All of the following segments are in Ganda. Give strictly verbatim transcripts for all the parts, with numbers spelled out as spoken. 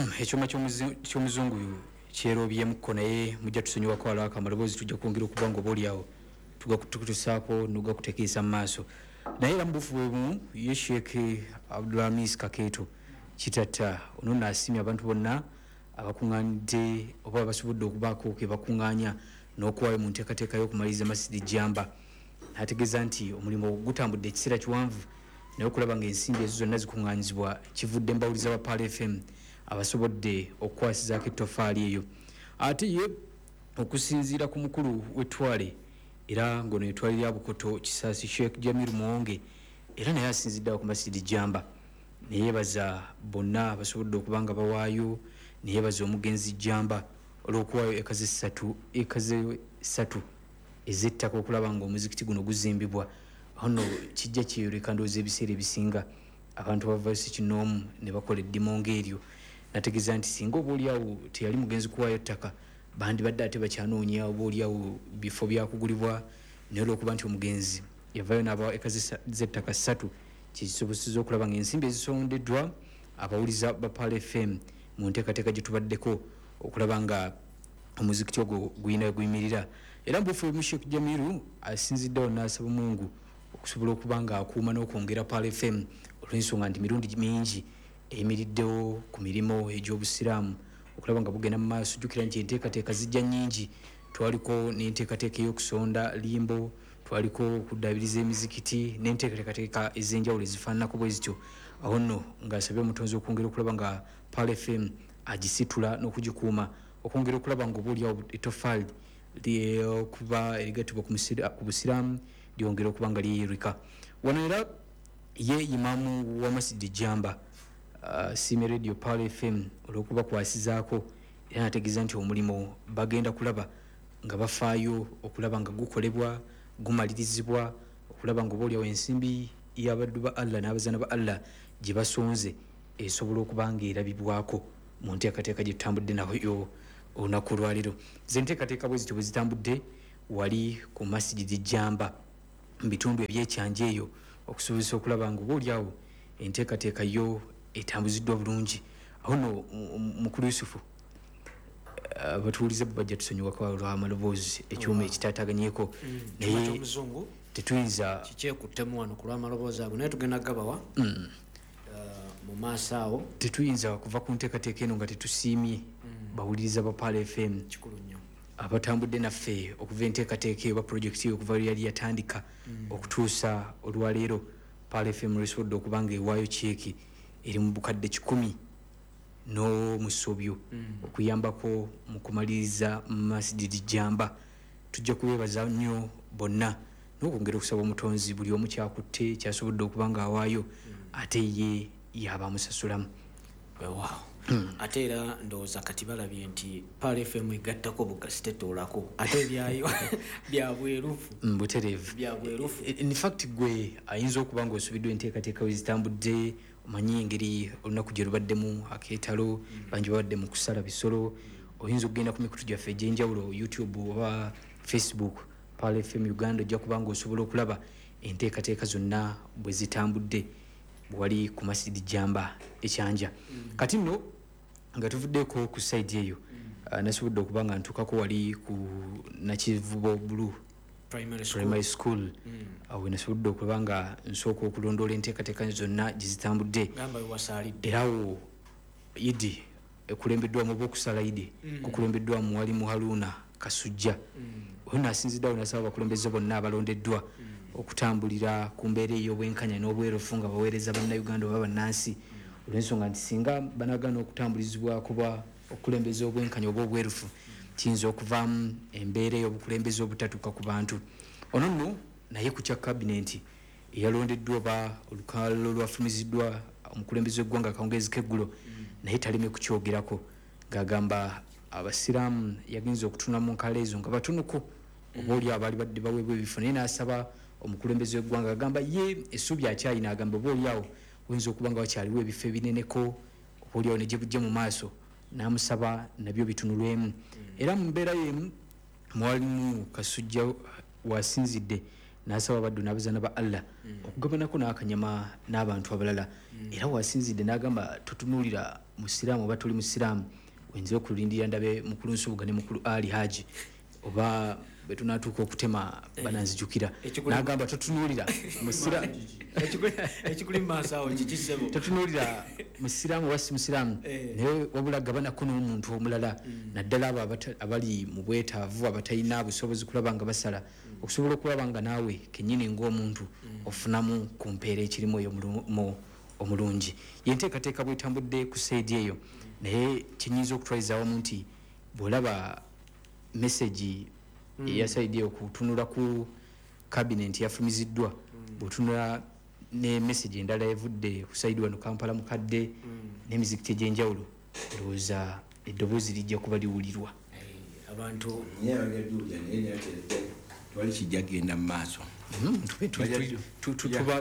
Ekyuma ky'omuzungu kyerobyemukko, naye mujja tusonyiwako alwako amaloboozi, tujja kwongera okuba nga oba oliawo tugakutusaako nogakutekeesa mu maaso. Naye era mu bufu bwebumu, ye Sheikh Abdulhamis Kakeeto Kitatta ono naasimye abantu bonna abakuŋŋaanidde oba basobodde okubaako ke bakuŋŋaanya n'okuwaayo mu nteekateeka y'okumaliriza Masidi Jamba. N'ategeeza nti omulimu gutambudde ekiseera kiwanvu, naye okulaba ng'ensimbi ezo zonna zikuŋŋaanyizibwa kivudde mbawuliza ba Pearl F M abasobodde okukwasizaako ettofaali eyo. Ate ye okusinziira ku mukulu w'ettwale, era ng'ono etwale lya Bukoto Kisaasi, Sheikh Jamir Muwonge, era naye asinzidde awo ku Masidi Jamba neyeebaza bonna abasobodde okuba nga bawaayo, neyeebaza omugenzi Jamba olw'okuwaayo eka ssatu eka ssatu ez'ettaka okulaba nga omuzikiti guno guzimbibwa. Awo nno kijja kyeyoleka, ndowooza ebiseera ebisinga abantu bavayo si kinoomu ne bakola eddimu ng'eryo. Nategeeza nti singa oba oliawo teyali mugenzi kuwaayo ttaka, bandibadde ate bakyanoonya oba oliawo bifo byakugulibwa, naye olwokuba nti omugenzi yavaayo n'abawa eka z'ettaka ssatu, kisoboseza okulaba nga ensimbi ezisondeddwa abawuliza ba Pearl F M mu nteekateeka gye tubaddeko okulaba nga omuzikiti ogwo guyina guyimirira. Era mubuufu mu Sheikh Jamiru asinziddewo n'asaba Mungu okusobola okuba nga akuuma n'okwongera Pearl F M, olw'ensonga nti mirundi mingi eyimiriddewo ku mirimu egy'obusiraamu okulaba nga bugenda mu maaso. Jjukira nti enteekateeka zijja nnyingi, twaliko n'enteekateeka ey'okusonda limbo, twaliko okuddabiriza emizikiti n'enteekateeka ez'enjawulo ezifaananako bwe zityo. Awo nno ng'asabye omutonzi okwongera okulaba nga Pearl F M agisitula n'okugikuuma, okwongera okulaba nga oba oliawo ettofaali okuba erigattibwa ku busiraamu lyongera okuba nga lyeyereka wano. Era ye imaamu wa Masidi Jamba uh, siime Radio Pearl F M olw'okubakwasizaako, era nategeeza nti omulimu bagenda kulaba nga bafaayo okulaba nga gukolebwa, gumalirizibwa, okulaba nga oba oliawo ensimbi y'abaddu ba Allah n'abazaana ba Allah gye basonze esobola okuba nga erabibwako mu nteekateeka gye tutambudde nayo olunaku olwaleero. Ze nteekateeka bwe zityo bwe zitambudde wali ku Masigidi Jamba mu bitundu ebyekyanja eyo, okusobozesa okulaba nga oba oliawo enteekateeka yo etambuziddwa bulungi. Awo nno, mukulu Yusufu, abatuwuliza bajja tusonyiwako olw'amaloboozi, ekyuma ekitaataganyeko, mm, naye tetuyinza. Kikyekuttemu wano ku lw'amaloboozi ago, naye tugenda gabawa mm. uh, mu maaso awo. Tetuyinza kuva ku nteekateeka eno nga tetusiimye mm. bawuliriza ba Pearl F M Kikulu nnyo. abatambudde naffe okuva enteekateeka eyo oba projekiti eyo okuva lwe yali yatandika okutuusa olwaleero Pearl F M lwesobodde okuba nga ewaayo kyeki eri mu bukadde kikumi n'omusobyo okuyambako mu kumaliriza Masjid Jamba. Tujja kubeebaza nnyo bonna n'okwongera okusaba omutonzi buli omu kyakutte kyasobodde okuba nga awaayo, ate ye yaba amusasulamu. Weewaawo. Ate era ndowooza kati balabye nti Pearl F M egattako bugasi, tetoolako, ate ebyayo bya bwerufu. Mm, butereevu. Bya bwerufu. In fact, gwe ayinza okuba nga osubiddwa enteekateeka we zitambudde, omanyi engeri olunaku gye lubaddemu akeetalo, bangi babadde mu kusala bisolo, oyinza okugenda ku mikutu gyaffe egy'enjawulo, YouTube oba Facebook, Pearl F M Uganda, ojja kuba nga osobola okulaba enteekateeka zonna bwe zitambudde wali ku Masidi Jamba ekyanja. Kati nno nga tuvuddeko ku side eyo, uh, nasobodde okuba nga ntuukako wali ku Nakivubo Blue Primary School. Primary School, awo nasobodde okuba nga nsooka okulondoola enteekateeka zonna gye zitambudde. Gamba wewasaalidde. Era awo idi ekulembeddwamu oba okusala idi kukulembeddwamu walimu Haruna Kasujja. Oyo naasinziddeawo nasaba abakulembeze bonna abalondeddwa okutambulira ku mbeera ey'obwenkanya n'obwerufu nga baweereza Bannayuganda oba bannansi, olw'ensonga nti singa banagaana okutambulizibwa kuba okukulembeza obwenkanya oba obwerufu, kiyinza okuvaamu embeera ey'obukulembeze obutatuuka ku bantu. Ono nno naye ku kya kabinenti eyalondeddwa oba olukalala olwafumiziddwa omukulembeze w'eggwanga akawungeezi k'eggulo, naye taleme kukyogerako ng'agamba abasiraamu yagenza okutunula mu nkala ezo nga batonoku oba oli abaali badde baweebwa ebifo, naye n'asaba omukulembeze w'eggwanga, agamba ye essuubi akyalina, agamba oba oliawo oyinza okuba nga wakyaliwo ebifo ebineneko oba oliawo ne gye bujja mu maaso, n'amusaba nabyo bitunulwemu. Era mu mbeera yemu, mwalimu Kasujja wasinzidde N'asaba abaddu n'abazaana ba Allah okugabanako n'akanyama n'abantu abalala. Era wasinzidde n'agamba totunuulira musiraamu oba toli musiraamu, oyinza okulindira ndabe mukulu Nsubuga ne mukulu Ali Haji oba bwe tunaatuuka okutema bananzijukira. N'agamba totunuulira musiraamu ekikuli mu maaso awo kiki ssebo, totunuulira musiraamu oba si musiraamu, naye wabula gabanako n'omuntu omulala, naddala abo abali mu bwetaavu abatalina busobozi kulaba nga basala, okusobola okulaba nga naawe kennyini ng'omuntu ofunamu ku mpeera ekirimu eyo omulungi. Yenteekateeka bwetambudde ku saidi eyo, naye kinyinza okutwaliza awamu nti bw'olaba message eya saidi eyo kutunula ku cabinet yafulumiziddwa, bw'otunula ne message endala evudde ku saidi wano Kampala mukadde n'emizikiti egy'enjawulo, ndowooza eddoboozi lijja kuba liwulirwa. Abantu twali kijja kugenda mu maaso.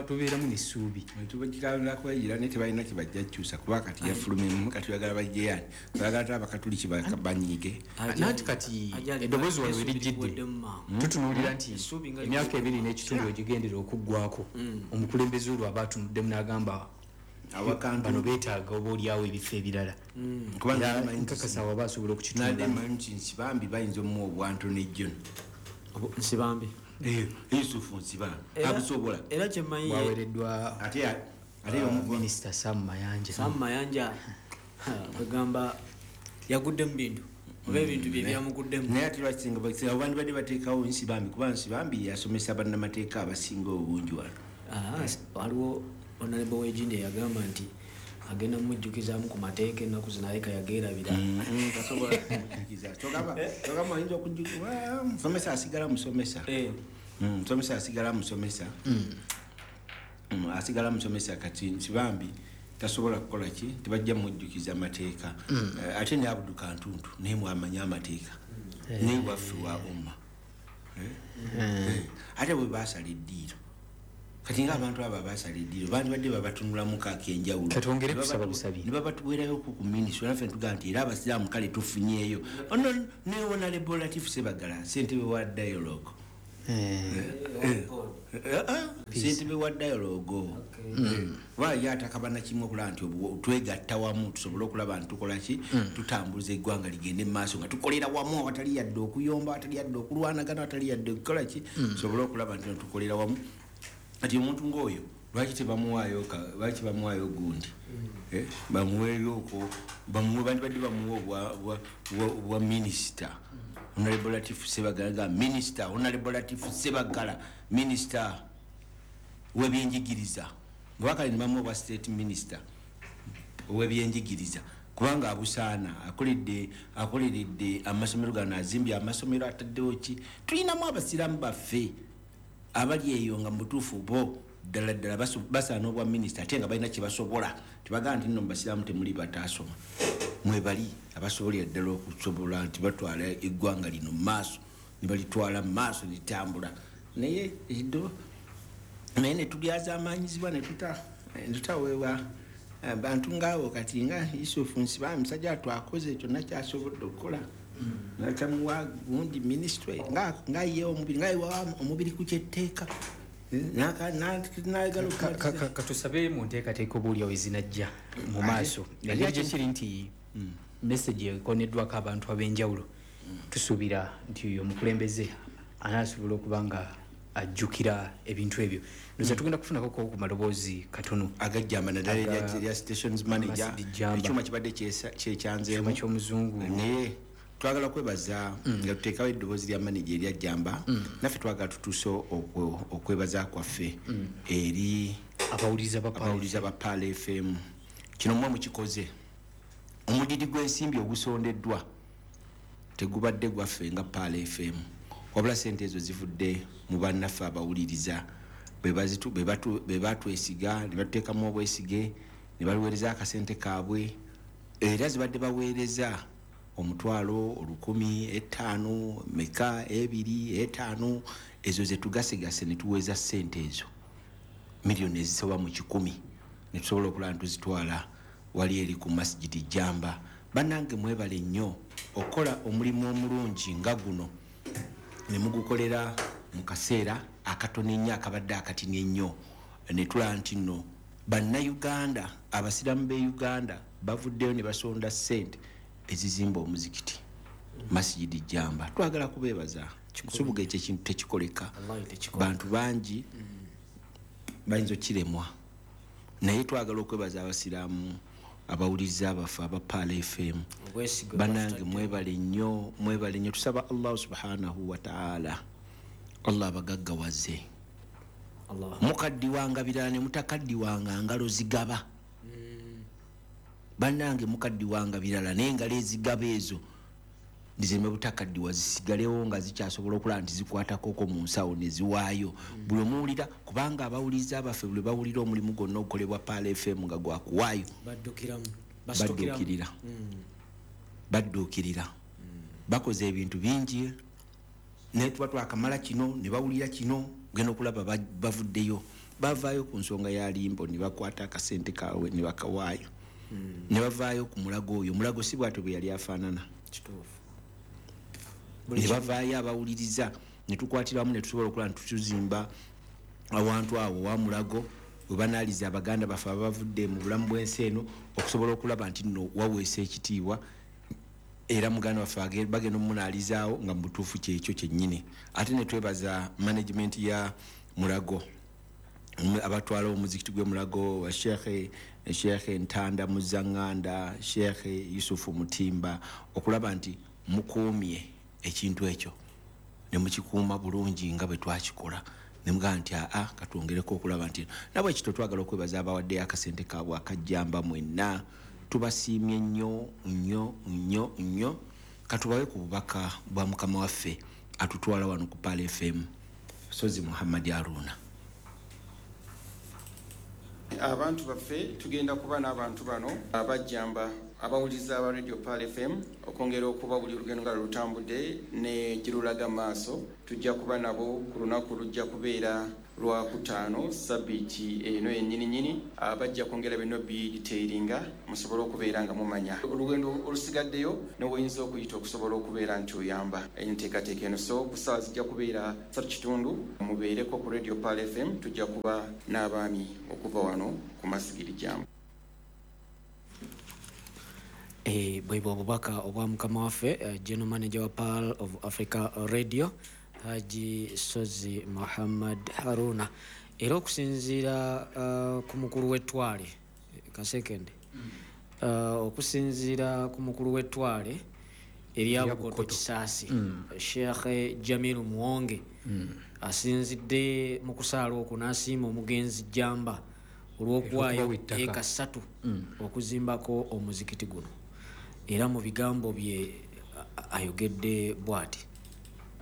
Tubeeramu n'essuubi. Tubakikalakwegira naye tebalina kye bajja kukyusa kuba kati yafulumyemu, kati oyagala bajje ani? Oyagala ate Abakatuliki banyiige. Nanti kati eddoboozi wano we lijjidde tutunuulira nti emyaka ebiri n'ekitundu egigendera okuggwako, omukulembeze olwo aba atunuddemu n'agamba bano beetaaga oba oliawo ebifo ebirala. Nkakasa awo aba asobola okukitunula. Nti Nsibambi bayinza omuwa obwantono ejjo. Nsibambi Yusufu Nsibambi abusobola. Era kyemmanyi bwaweereddwa ate ate minisita Sam Mayanja. Sam Mayanja kwegamba yagudde mu bintu oba ebintu bye byamuguddemu. Naye ate lwaki singa bandibadde bateekawo Nsibambi, kuba Nsibambi yasomesa bannamateeka abasinga obungi wano. Waliwo Honorable Wejinde yagamba nti agenda mujjukizaamu ku mateeka ennaku zino aleka yageerabira. Tasobola kumujjukiza. Togamba oyinza okujjukiza musomesa asigala musomesa. Musomesa asigala musomesa. Asigala musomesa. Kati Nsibambi tasobola kukola ki, tebajja mujjukiza amateeka. Ate ne Abdu Kantuntu naye mwamanya amateeka, naye waffe wa umma. Ate bwe baasala eddiiro, kati ng'abantu abo abaasala eddiiro bandibadde babatunulamu ak'enjawulo, katwongere kusaba busabi ne babatuweerayo ku minisitule. Naffe ntugamba nti era abasiraamu kale tufunyeeyo. Ono ne Honorable Latif Ssebagala ssentebe wa dialogue, ssentebe wa dialogue oba ye atakabana kimu okulaba nti twegatta wamu tusobole okulaba nti tukola ki, tutambuza eggwanga ligende mu maaso nga tukolera wamu awatali yadde okuyomba, awatali yadde okulwanagana, awatali yadde okukola ki, tusobole okulaba nti tukolera wamu. Kati omuntu ng'oyo lwaki tebamuwaayo, lwaki bamuwaayo gundi, bamuweeyo okwo, bamuwe bandibadde bamuwa obwa minisita. Honorable Latif Ssebagala nga minisita, Honorable Latif Ssebagala minisita w'ebyenjigiriza, nga ne bamuwa obwa state minister ow'ebyenjigiriza, kubanga abusaana akoledde akoleredde amasomero gano, azimbye amasomero, ataddewo ki. Tulinamu abasiraamu baffe abali eyo nga mubutuufu bo ddala ddala basaana obwa minisita, ate nga balina kye basobola. Tebagamba nti nno mu basiraamu temuli bataasoma, mwebali abasobolera ddala okusobola nti batwala eggwanga lino mu maaso, ne balitwala mu maaso litambula. Naye eddo naye ne tulyazaamaanyizibwa ne tutaweebwa bantu ng'abo. Kati nga Yusufu Nsibambi musajja twakoze kyonna kyasobodde okukola, natamuwa gundi minisitule ng'ayiyewo omubiri, ng'ayiwa omubiri ku kyetteeka. Katusabe mu nteekateeka oba oliawo ezinajja mu maaso. Engeri gye kiri nti message ekoneddwako abantu ab'enjawulo, tusuubira nti omukulembeze anaasobola okuba nga ajjukira ebintu ebyo. Ndowooza tugenda kufunako ku maloboozi katono agajjamba, naddala erya stations manager, ekyuma kibadde kyekyanzeemu ky'omuzungu. Naye twagala kwebaza nga tuteekawo eddoboozi lya manager erya Jjamba. Naffe twagala tutuuse okwebaza kwaffe eri abawuliriza ba Pearl F M. Kino mmwe mukikoze. Omudidi gw'ensimbi ogusondeddwa tegubadde gwaffe nga Pearl F M, wabula ssente ezo zivudde mu bannaffe abawuliriza be batwesiga ne batuteekamu obwesige ne baluweereza akasente kaabwe. Era zibadde baweereza omutwalo olukumi etaano meka ebiri etaano, ezo ze tugasegase ne tuweeza ssente ezo miliyoni ezisoba mu kikumi ne tusobola okulaba nti tuzitwala wali eri ku Masjidi Jjamba. Bannange mwebale nnyo okukola omulimu omulungi nga guno ne mugukolera mu kaseera akatono ennyo akabadde akatini ennyo ne tulaba nti nno bannayuganda abasiraamu b'e Uganda bavuddeyo ne basonda ssente ezizimba omuzikiti Masjidi Jamba. Twagala kubeebaza nsubuga ekyo ekintu tekikoleka, bantu bangi bayinza okiremwa, naye twagala okwebaza abasiraamu abawuliriza abaffe aba Pearl F M. Bannange mwebale nnyo, mwebale nnyo. Tusaba Allah subhanahu wa ta'ala Allah abagaggawaze. Mukaddiwanga birala ne mutakaddiwanga ngalo zigaba. Bannange mukaddiwanga birala naye engalo ezigaba ezo ndizireme butakaddiwa zisigalewo nga zikyasobola okulaba nti zikwatako mu nsawo ne ziwaayo. Buli omuwulira, kubanga abawuliriza abaffe buli bawulira omulimu gwonna ogukolebwa Pearl F M nga gwakuwaayo badduukirira badduukirira bakoze ebintu bingi naye tuba twakamala kino ne bawulira kino genda okulaba bavuddeyo bavaayo ku nsonga ya limbo ne bakwata akasente kaabwe ne bakawaayo ne bavaayo ku mulago oyo. Omulago si bw'atyo bwe yali afaanana, ne bavaayo abawuliriza ne tukwatiramu ne tusobola okulaba nti tuzimba awantu awo wa mulago we banaaliza abaganda baffe abavudde mu bulamu bw'ensi eno okusobola okulaba nti nno waweesa ekitiibwa era muganda waffe bagenda omunaalizaawo nga mu butuufu kyekyo kyennyini. Ate ne twebaza management ya Mulago abatwala omuzikiti gw'e Mulago wa Sheikh Sheikh Ntanda Muzanganda, Sheikh Yusufu Mutimba, okulaba nti mukuumye ekintu ekyo ne mukikuuma bulungi nga bwe twakikola ne mugamba nti aa katwongereko okulaba nti nabwe ekito twagala okwebaza abawaddeyo akasente kaabwe akajjamba mwenna. Tubasiimye nnyo nnyo nnyo nnyo. Katubawe ku bubaka bwa mukama waffe atutwala wano ku Pearl F M, Sozi Muhammad Haruna. Abantu baffe tugenda kuba n'abantu bano abajjamba abawuliza aba Radio Pearl F M okwongera okuba buli olugendo nga lutambudde ne girulaga maaso. Tujja kuba nabo ku lunaku lujja kubeera lwakutaano sabbiiti eno yennyini nnyini. Bajja kwongera bino bidetailinga musobole okubeera nga mumanya olugendo olusigaddeyo n'oyinza okuyita okusobola okubeera nti oyamba enteekateeka eno. So ku ssaawa zijja kubeera ssatu kitundu mubeereko ku Radio Pearl F M. Tujja kuba n'abaami okuva wano ku Masjidi Jamba. Eh, bwebwo obubaka obwa mukama waffe uh, General Manager wa Pearl of Africa Radio Haji Sozi Muhammad Haruna. Era okusinziira uh, ku mukulu w'ettwale kasekende mm. uh, okusinziira ku mukulu w'ettwale erya Bukoto Kisaasi mm. Sheikh Jamilu Muwonge mm. asinzidde mu kusaala okwo n'asiima omugenzi Jamba olw'okuwaayo eka ssatu mm. okuzimbako omuzikiti guno. Era mu bigambo bye ayogedde bw'ati: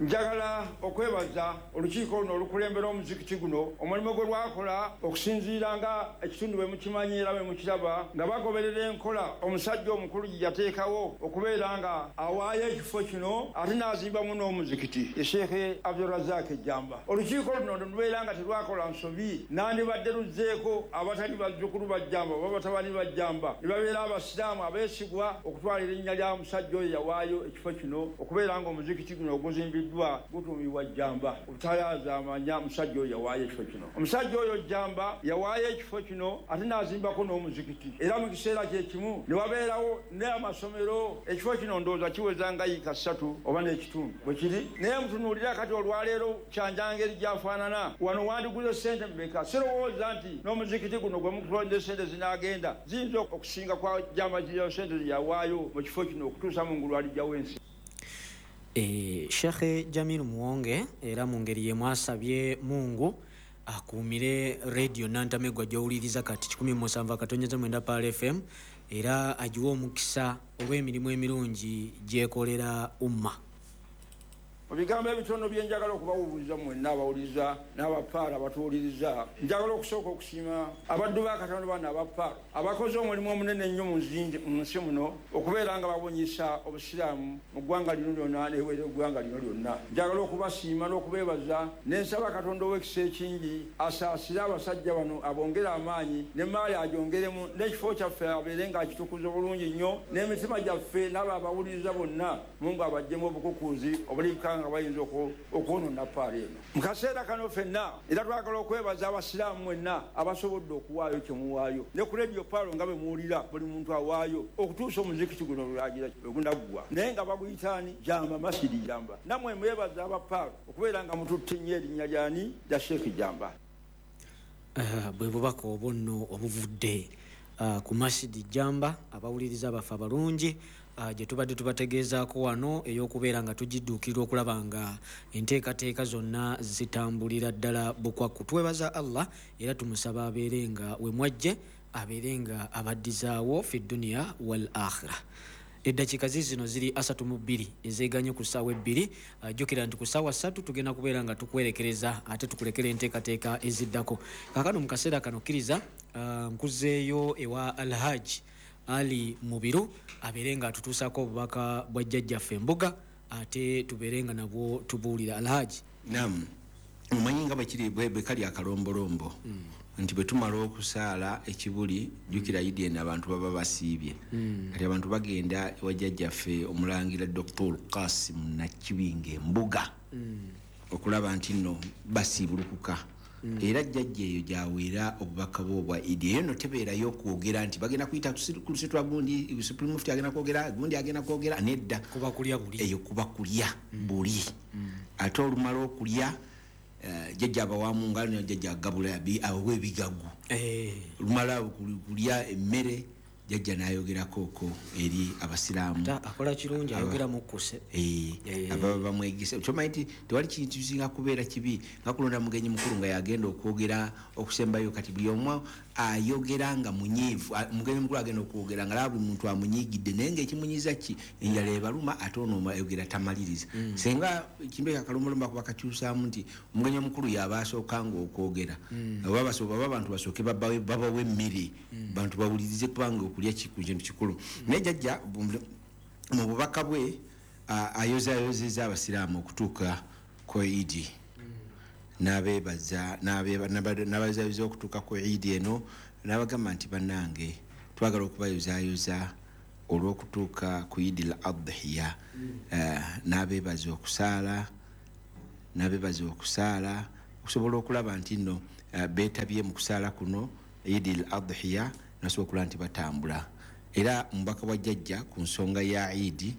Njagala okwebaza olukiiko luno olukulembera omuzikiti guno omulimu gwe lwakola okusinziira nga ekitundu bwe mukimanyi era bwe mukiraba nga bagoberera enkola omusajja omukulu gye yateekawo okubeera nga awaayo ekifo kino ate n'azimbamu n'omuzikiti ye Sheikh Abdulrazak Jamba. Olukiiko luno lubeera nga terwakola nsobi, nandibadde luzzeeko abatali bazzukulu ba Jamba oba batabani ba Jamba ne babeera abasiraamu abeesigwa okutwala erinnya lya musajja oyo yawaayo ekifo kino okubeera nga omuzikiti guno oguzimbiddwa gutumibwa Jamba. Obutayaaza amanya musajja oyo yawaayo ekifo kino. Omusajja oyo Jamba yawaayo ekifo kino ate n'azimbako n'omuzikiti era mu kiseera kye kimu ne wabeerawo n'amasomero. Ekifo kino ndowooza kiweza nga yiika ssatu oba n'ekitundu bwe kiri, naye mutunuulira kati olwaleero kyanjangeri gy'afaanana. Wano wandiguze ssente mmeka? Sirowooza nti n'omuzikiti guno gwe mukutonde ssente zinaagenda ziyinza okusinga kwa Jamba ziriyo ssente ze yawaayo mu kifo kino okutuusa mu ngulu alijjawo ensi. E, Sheikh Jamilu Muwonge era mu ngeri y'emu asabye Mungu akuumire radio Nantamegwa gy'owuliriza kati kikumi musanvu akatonyeza mwenda Pearl F M era agiwe omukisa olw'emirimu emirungi gy'ekolera umma. Mu bigambo ebitono bye njagala okubawuliriza mwenna abawuliriza n'abapaala abatuwuliriza, njagala okusooka okusiima abaddu ba Katonda bano abapaala abakoze omulimu omunene ennyo mu nsi muno okubeera nga babunyisa obusiraamu mu ggwanga lino lyonna n'ebweru eggwanga lino lyonna. Njagala okubasiima n'okubeebaza ne nsaba Katonda ow'ekisa ekingi asaasire abasajja bano abongere amaanyi n'emmaali agyongeremu n'ekifo kyaffe abeere ng'akitukuza bulungi nnyo n'emitima gyaffe n'abo abawuliriza bonna Mungu abaggyemu obukukuuzi obulika nga bayinza okwonoona Pearl eno. Mu kaseera kano ffenna era twagala okwebaza abasiraamu mwenna abasobodde okuwaayo kye muwaayo, ne ku Radio Pearl nga bwe muwulira buli muntu awaayo okutuusa omuzikiti guno lulagira wegunaggwa, naye nga baguyitaani Jamba, Masidi Jamba. Nammwe mwebaza aba Pearl okubeera nga mututte nnyo erinnya lyani lya Sheikh Jamba. Bwe bubaka obwo nno obuvudde ku Masidi Jamba, abawuliriza baffe abalungi gye tubadde tubategeezaako wano ey'okubeera nga tugidduukirira okulaba nga enteekateeka zonna zitambulira ddala bukwakku. Twebaza Allah era tumusaba abeere nga we mwajje, abeere nga abaddizaawo fi dduniya wal akhira. Eddakiika zizino ziri asatu mu bbiri ezeeganye ku ssaawa ebbiri. Jjukira nti ku ssaawa ssatu tugenda kubeera nga tukwerekereza ate tukulekera enteekateeka eziddako. Kaakano mu kaseera kano kkiriza nkuzeeyo ewa Alhaji Ali Mubiru abeere nga atutuusaako obubaka bwa jjajjaffe Embuga, ate tubeere nga nabwo tubuulira. Alhaji. Naam, omanyi nga bwe kiri bwe kali akalombolombo nti bwe tumala okusaala ekibuli, jjukira Idi eno abantu baba basiibye. Kati abantu bagenda ewa jjajjaffe omulangira Doctor Qasim Nakibinge Embuga okulaba nti nno basiibulukuka. Era jjajja eyo gy'aweera obubaka bwe obwa Idi. Eyo nno tebeerayo okwogera nti bagenda kuyita ku lusitwa gundi, Supreme Mufti agenda kwogera, gundi agenda kwogera, nedda. Kuba kulya buli. Eyo kuba kulya buli. Ate olumala okulya jjajja abawamu nga jjajja agabula abawa ebigagu. Olumala kulya emmere jjajja n'ayogerako okwo eri abasiraamu. Akola kirungi, ayogera mukkuse. Ababa bamwegese. Kyomanyi nti tewali kintu kisinga kubeera kibi nga kulonda mugenyi mukulu nga yagenda okwogera okusembayo. Kati buli omu ayogera nga munyiivu, mugenyi mukulu agenda okwogera nga laba buli muntu amunyiigidde, naye ng'ekimunyiiza ki? Enjala ebaluma, ate ono ayogera tamaliriza. Singa ekintu ekyo akalombolombo akuba kakyusaamu nti omugenyi omukulu y'aba asookanga okwogera, oba abantu basooke babawe emmere, bantu bawulirize kubanga okulya kintu kikulu. Naye jjajja mu bubaka bwe ayozaayozezza abasiraamu okutuuka ku Idi, n'abeebaza n'abayozayoza okutuuka ku Idi eno, n'abagamba nti bannange twagala okubayozaayoza olw'okutuuka ku Idi al Adhiya, n'abeebaza okusaala, n'abeebaza okusaala okusobola okulaba nti nno beetabye mu kusaala kuno Idi al Adhiya, nasobola okulaba nti batambula. Era omubaka bwa jjajja ku nsonga ya Idi,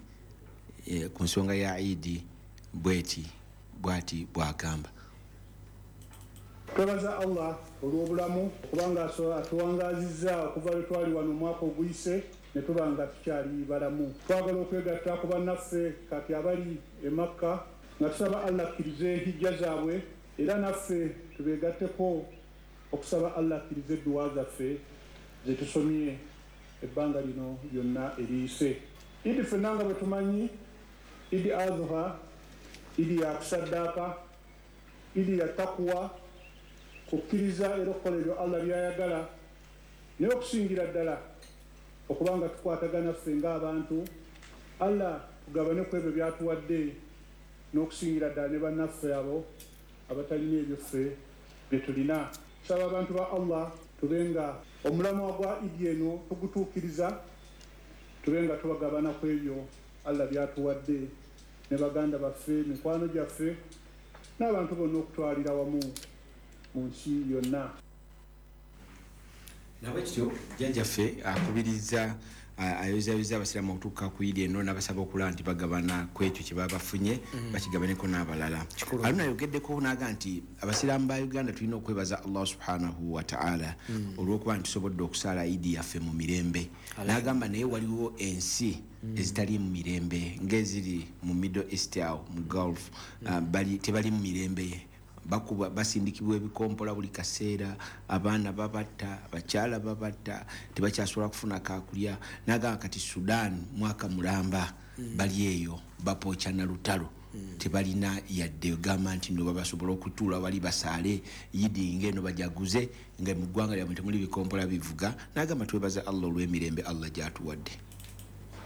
ku nsonga ya Idi bweti bwati bw'agamba. Twebaza Allah olw'obulamu kubanga atuwangaazizza okuva lwe twali wano omwaka oguyise ne tuba nga tukyali balamu. Twagala okwegatta ku bannaffe kati abali e Makka nga tusaba Allah akkirize hijja zaabwe, era naffe tubeegatteko okusaba Allah akkirize edduwa zaffe ze tusomye ebbanga lino lyonna eriyise. Idi ffenna nga bwe tumanyi, Idi Adha, Idi ya kusaddaaka, Idi ya takuwa, kukkiriza era okukola ebyo Allah by'ayagala, naye okusingira ddala okubanga tukwatagana ffe ng'abantu, Allah tugabane ku ebyo by'atuwadde n'okusingira ddala ne bannaffe abo abatalina ebyo ffe bye tulina. Tusaba abantu ba Allah tube nga omulamwa gwa Idi eno tugutuukiriza, tube nga tubagabana ku ebyo Allah by'atuwadde ne baganda baffe, mikwano gyaffe n'abantu bonna okutwalira wamu mu nsi yonna. Nabwekityo jjajjaffe akubiriza ayozayoza abasiraamu okutuuka ku Idi eno n'abasaba okulaba nti bagabana ku ekyo kye baba bafunye, bakigabaneko n'abalala. Aluna ayogeddeko n'aga nti abasiraamu ba Uganda tulina okwebaza Allah subhanahu wa ta'ala olw'okuba nti tusobodde okusaala Idi yaffe mu mirembe. N'agamba naye waliwo ensi ezitali mu mirembe ng'eziri mu Middle East awo mu Gulf, tebali mu mirembe, bakuba basindikibwa ebikompola buli kaseera, abaana babatta, abakyala babatta, tebakyasobola kufuna kakulya. N'agamba kati Sudan mwaka mulamba bali eyo bapooca na lutalo, tebalina yadde gamba nti nno babasobola okutuula wali basaale Idi ng'eno bajaguze nga mu ggwanga lyabwe temuli bikompola bivuga. N'agamba twebaza Allah olw'emirembe Allah gy'atuwadde.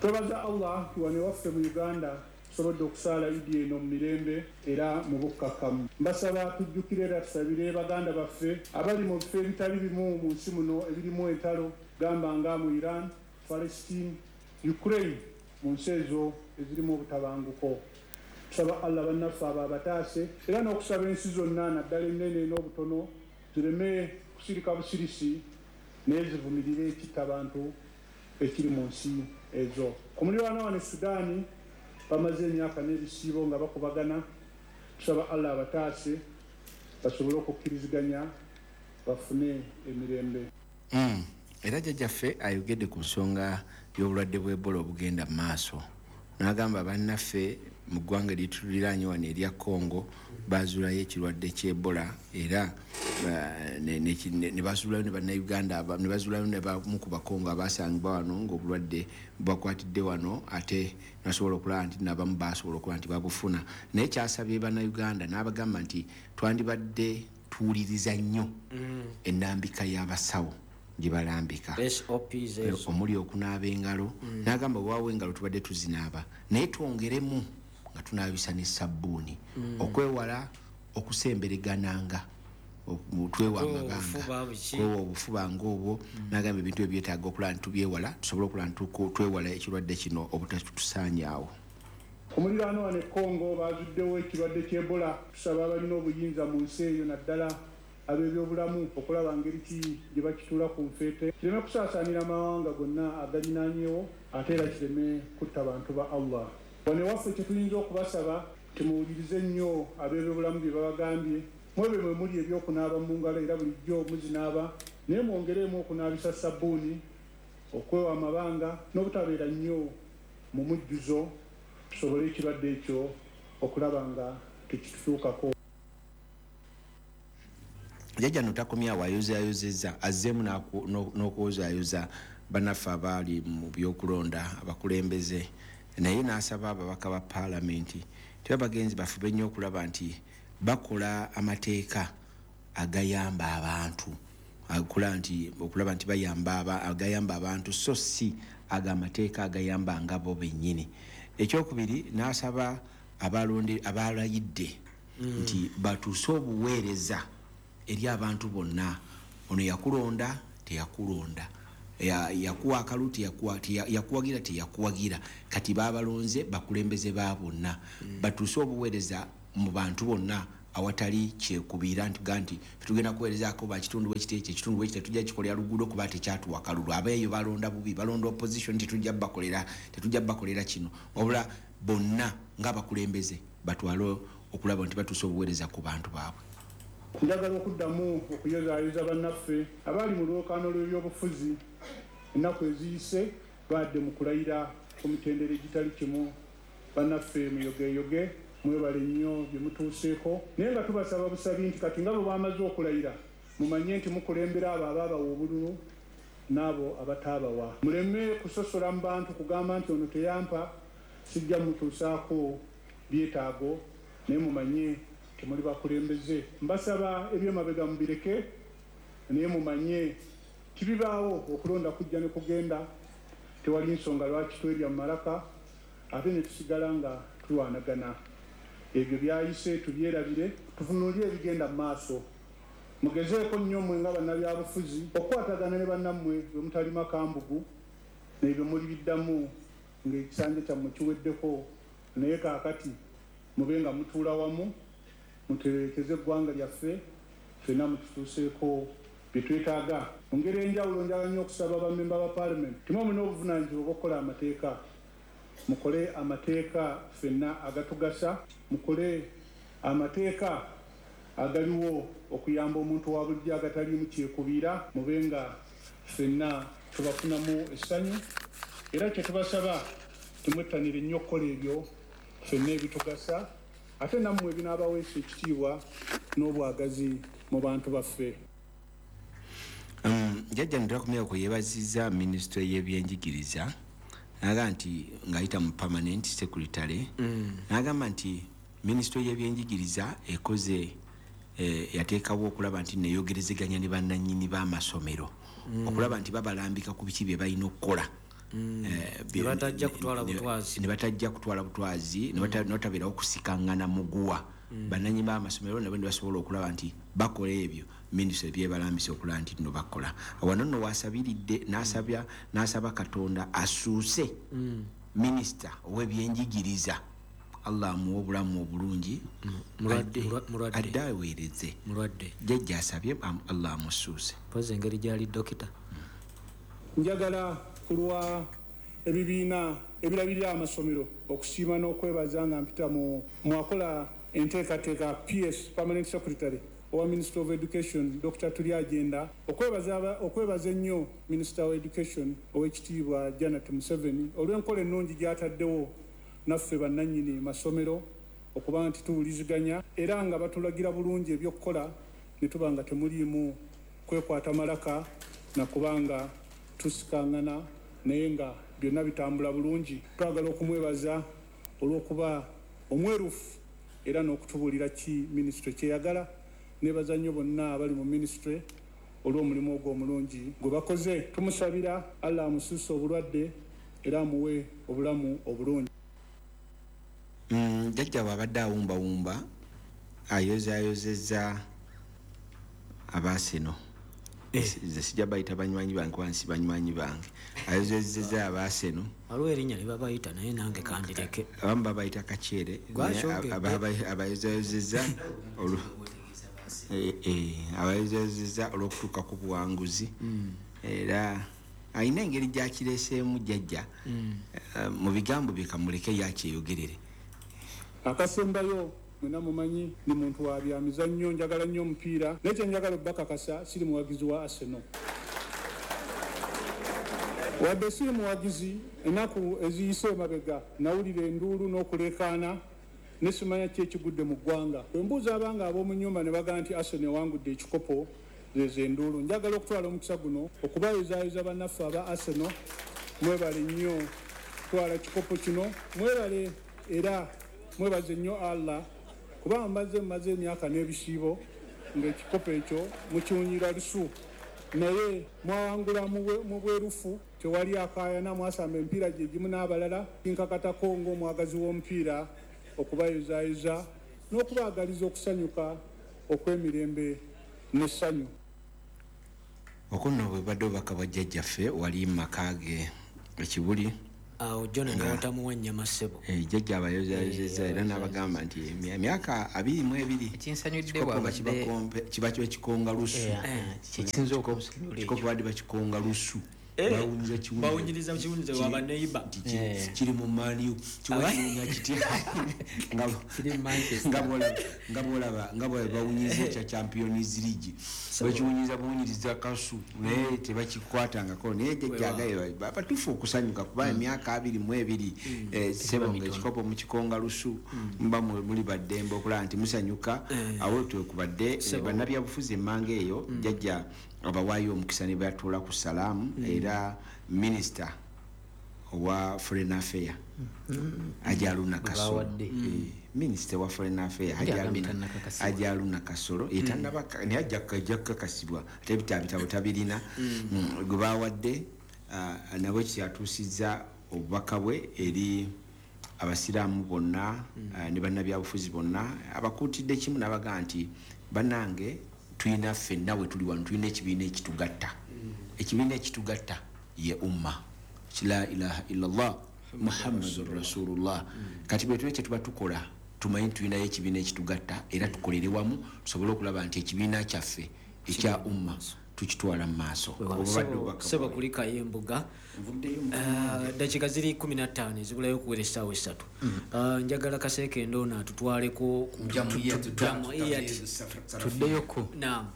Twebaza Allah nti wano ewaffe mu Uganda tusobodde okusaala Idi eno mu mirembe era mu bukkakkamu. Mbasaba tujjukire era tusabire baganda baffe abali mu bifo ebitali bimu mu nsi muno ebirimu entalo, gamba nga mu Iran, Palestine, Ukraine, mu nsi ezo ezirimu obutabanguko. Tusaba Allah bannaffe abo abataase, era n'okusaba ensi zonna naddala ennene n'obutono zireme kusirika busirisi naye zivumirire ekitta abantu ekiri mu nsi ezo. Ku muliraano wano e Sudaani bamaze emyaka n'ebisiibo nga bakubagana. Tusaba Allah abataase basobole okukkiriziganya bafune emirembe. Mm. Era jjajjaffe ayogedde ku nsonga y'obulwadde bw'Ebola obugenda mu maaso, n'agamba bannaffe mu ggwanga erituliraanye wano erya Congo bazuulayo ekirwadde ky'Ebola, era ne bazuulayo ne bannayuganda, ne bazuulayo ne bamu ku Bakongo abasangibwa wano ng'obulwadde bubakwatidde wano, ate nasobola okulaba nti n'abamu basobola okuba nti babufuna. Naye kyasabye bannayuganda n'abagamba nti twandibadde tuwuliriza nnyo ennambika y'abasawo gye balambika omuli okunaaba engalo. N'agamba waawo engalo tubadde tuzinaaba, naye twongeremu nga tunaabisa ne sabbuuni okwewala okusemberegananga, twewa amabanga, kwewa obufuba ng'obwo. N'agamba ebintu ebyo byetaaga okulaba nti tubyewala, tusobole okulaba nti twewala ekirwadde kino obutatusaanyaawo. Ku muliraano wano e Congo bazuddewo ekirwadde ky'Ebola. Tusaba abalina obuyinza mu nsi eyo naddala ab'ebyobulamu okulaba ngeri ki gye bakituula ku nfeete, kireme kusaasaanira amawanga gonna agalinaanyewo, ate era kireme kutta bantu ba Allah. Wano ewaffe kye tuyinza okubasaba, temuwulirize nnyo ab'ebyobulamu bye babagambye. Mwebwe mwe muli ebyokunaaba mu ngalo era bulijjo muzinaaba, naye mwongereemu okunaabisa sabbuuni, okwewa amabanga n'obutabeera nnyo mu mujjuzo, tusobole ekirwadde ekyo okulaba nga tekitutuukako. Jjajja no takomyawo, ayozaayozezza, azzeemu n'okwozaayoza bannaffe abaali mu byokulonda abakulembeze, naye n'asaba ababaka ba paalamenti teba bagenzi bafube nnyo okulaba nti bakola amateeka agayamba abantu, okulaba nti okulaba nti bayamba agayamba abantu, so si agamateeka agayamba nga bo bennyini. Ekyokubiri n'asaba abalonde abalayidde nti batuuse obuweereza eri abantu bonna. Ono yakulonda teyakulonda, yakuwa akalu teyakuwagira teyakuwagira, kati babalonze bakulembeze ba bonna, batuuse obuweereza mu bantu bonna awatali kyekubiira nti ga nti tugenda kuweerezaako bakitundu bwekiti ekyo ekitundu bwekiti tetujja kikolera luguudo kuba tekyatuwa kalulu, abeeyo balonda bubi, balonda opposition, tetujja bakolera tetujja bakolera kino, wabula bonna ng'abakulembeze batwale okulaba nti batuuse obuweereza ku bantu baabwe. Njagala okuddamu okuyozaayoza bannaffe abaali mu lwokaano lw'ebyobufuzi ennaku eziyise, baadde mu kulayira ku mitendera egitali kimu. Bannaffe muyogeyoge, mwebale nnyo bye mutuuseeko, naye nga tubasaba busabi nti kati nga bwe bamaze okulayira mumanye nti mukulembera abo abaabawa obululu n'abo abataabawa. Muleme kusosola mu bantu kugamba nti ono teyampa sijja mutuusaako byetaago, naye mumanye temuli bakulembeze. Mbasaba ebyemabega mubireke, naye mumanye tibibaawo okulonda kujja ne kugenda, tewali nsonga lwaki twerya mu malaka ate ne tusigala nga tulwanagana. Ebyo byayise tubyerabire, tutunuulire ebigenda mu maaso. Mugezeeko nnyo mmwe nga bannabyabufuzi okukwatagana ne bannammwe bwe mutalima kambugu, n'ebyo muli biddamu ng'ekisanja kyammwe kiweddeko, naye kaakati mube nga mutuula wamu muterekeze eggwanga lyaffe, ffenna mututuuseeko bye twetaaga. Mu ngeri enjawulo njagala nnyo okusaba bammemba ba paalamenti, timwe mulina obuvunaanyizibwa obw'okukola amateeka, mukole amateeka ffenna agatugasa, mukole amateeka agaliwo okuyamba omuntu wa bulijjo agataliimu kyekubiira, mube nga ffenna tubafunamu essanyu. Era kye tubasaba temwettanire nnyo okukola ebyo ffenna ebitugasa, ate nammwe ebinaabaweesa ekitiibwa n'obwagazi mu bantu baffe. Jjajja ntakumyako yeebazizza minisitule y'ebyenjigiriza, n'agamba nti ng'ayita mu permanent secretary, n'agamba nti minisitule y'ebyenjigiriza ekoze yateekawo okulaba nti neeyogerezeganya ne bannannyini b'amasomero okulaba nti babalambika ku biki bye balina okukola, ne batajja kutwala butwazi, ne batajja kutwala butwazi, ne batabeerawo kusikangana muguwa. Bannannyini b'amasomero nabo ne basobola okulaba nti bakola ebyo minisitule byebalambise okulaba nti nno bakola. Wano nno wasabiridde n'asabya n'asaba Katonda asuuse minisita ow'ebyenjigiriza Allah amuwe obulamu obulungi. Adde aweereze. Mulwadde. Jjajja asabye Allah amusuuse. Mpozi engeri gy'ali dokita. Njagala kulwa ebibiina ebirabirira amasomero okusiima n'okwebaza nga mpita mu mwakola enteekateeka P S Permanent Secretary owa Minister of Education Doctor Turyagenda, okwebaza okwebaza ennyo Minister of Education ow'ekitiibwa Janet Museveni olw'enkola ennungi gy'ataddewo naffe bannannyini masomero okuba nti tuwuliziganya era nga batulagira bulungi ebyokukola ne tuba nga temuliimu kwekwata malaka na kubanga tusikangana naye nga byonna bitambula bulungi. Twagala okumwebaza olw'okuba omwerufu era n'okutubuulira ki minisitule kyeyagala. Nebaza nnyo bonna abali mu minisitule olw'omulimu ogwo omulungi gwe bakoze. Tumusabira Allah amusuuse obulwadde era amuwe obulamu obulungi. Jjajja bw'abadde awumbawumba ayozaayozezza abaaseno. Nze sijja bayita banywanyi bange kuba nsi banywanyi bange. Ayozezezza abaaseno. Waliwo erinnya lye babayita naye nange kandireke. Abamu babayita kakyere. Abayozaayozezza abayozaayozezza olw'okutuuka ku buwanguzi. Era alina engeri gy'akireeseemu jjajja mu bigambo bye kamuleke yakyeyogerere. Akasembayo mwena mumanyi ni muntu wa byamizannyo, njagala nnyo omupiira naye kye njagala obbakakasa siri muwagizi wa Arsenal. Wadde siri muwagizi, ennaku eziyise emabega nawulira enduulu n'okuleekaana ne simanya ki ekigudde mu ggwanga. Bwe mbuuza abanga ab'omu nnyumba ne bagamba nti Arsenal ewangudde ekikopo, zezo enduulu. Njagala okutwala omukisa guno okubayozaayoza bannaffe aba Arsenal, mwebale nnyo kutwala kikopo kino, mwebale era mwebaze nnyo Allah kuba mbaze mmaze emyaka n'ebisiibo ng'ekikopo ekyo mukiwunyira lusu, naye mwawangula mu bwerufu, tewali akaayana, mwasamba emipiira gye gimu n'abalala. Kinkakatako ng'omwagazi w'omupiira okubayozaayoza n'okubaagaliza okusanyuka okw'emirembe n'essanyu. Okwo nno bwe badde obubaka bwa jjajjaffe wali mu maka ge e Kibuli. Awo John n'otamuwa ennyama ssebo. Jjajja abayozaayozezza era n'abagamba nti emyaka abiri mu ebiri ekinsanyudde bw'abadde kiba kiba kikonga lusu. Kyekisinza okunsanyula ekyo. Ekikopo badde bakikonga lusu. Bawunyiriza kiwunyiza wa baneiba. Kiri mu Man U, kiwunya kitya. Kiri mu Manchester. Nga bw'olaba nga bwe bawunyiza ekya Champions League. Bakiwunyiza buwunyiriza kasu naye tebakikwatangako. Naye jjajja agaye batuufu okusanyuka kuba emyaka abiri mu ebiri ssebo ng'ekikopo mukikonga lusu muba muli baddembe okulaba nti musanyuka. Awo twekubadde bannabyabufuzi emmanga eyo jjajja abawaayo omukisa ne batuula ku salaamu. Era minisita owa Foreign Affairs Haji Kasolo, minisita wa Foreign Affairs Haji Haruna Kasolo etannaba naye ajja kukakasibwa ate ebitabo tabirina gwe baawadde nabwe kyatuusizza obubaka bwe eri abasiraamu bonna ne bannabyabufuzi bonna. Abakuutidde kimu n'abagamba nti bannange tulina ffenna we tuli wano tulina ekibiina ekitugatta. Ekibiina ekitugatta ye umma la ilaha illallah Muhammadur Rasulullah. Kati bwe tuba kye tuba tukola tumanyi tulinayo ekibiina ekitugatta era tukolere wamu tusobole okulaba nti ekibiina kyaffe ekya umma tukitwala mu maaso. Ssebo kulikayo embuga. Ddakiika ziri kkumi na ttaano ezibulayo okuwera essaawa essatu. Njagala Kaseekende ono atutwaleko tuddeyoko. Naam.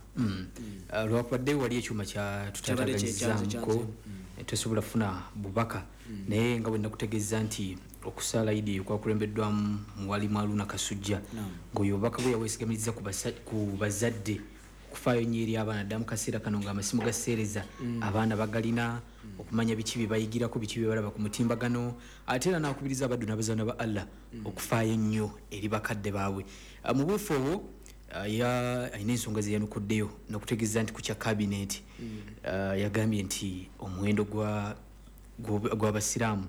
Lwakubadde wali ekyuma kya tutataganyizzamuko tesobola kufuna bubaka, naye nga bwe nakutegeeza nti okusaala Idi okwakulembeddwamu muwalimu Haruna Kasujja ng'oyo obubaka bwe yaweesigamizza ku bazadde okufaayo nnyo eri abaana dda mu kaseera kano ng'amasimu gaseereza abaana bagalina okumanya biki bye bayigirako, biki bye balaba ku mutimbagano, ate era n'akubiriza abaddu n'abazaana ba Allah okufaayo ennyo eri bakadde baabwe. Mu buufu obwo alina ensonga ze yanukuddeyo n'okutegeeza nti ku kya kabineeti yagambye nti omuwendo gw'abasiraamu